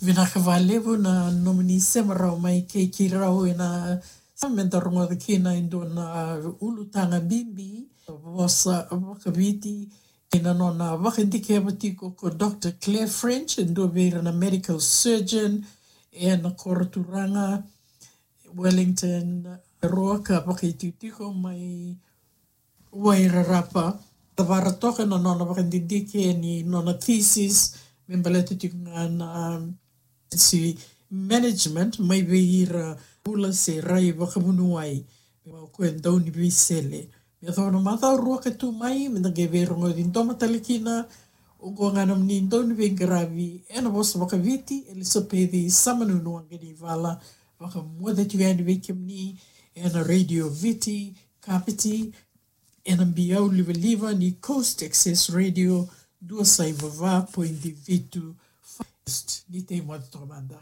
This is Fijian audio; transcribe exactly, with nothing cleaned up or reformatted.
Vinaka vakalevu na nomuni sema rawa mai kei keirau ena sa me da rogoca kina e dua na ulutaga bibi, vosa vakaviti, ena nona vakadikeva tiko ko Doctor Claire French, e dua vei ira na medical surgeon ena koro turaga Wellington, Roa, ka vakaitikotiko mai Wairarapa. Tavara toka na nona vakadidike ni nona thesis me baleta tiko ga na, um, emergency management mai vei ira bula se rai vakavuniwai. Me vaka o koya e dau ni veisele. Me yacova na macawa rua ka tu mai, me da qai veirogoci doma tale kina. Oqo ga na nomuni dau ni veiqaravi ena vosa vakaviti, Elisapeci Samanunu Waqanivala, vakamoce tiko yani vei kemuni ena Radio Viti, Kapiti, ena biau livaliva ni Coast Access Radio, dua saiva va poidi vitu. First, ni tei moce toka mada.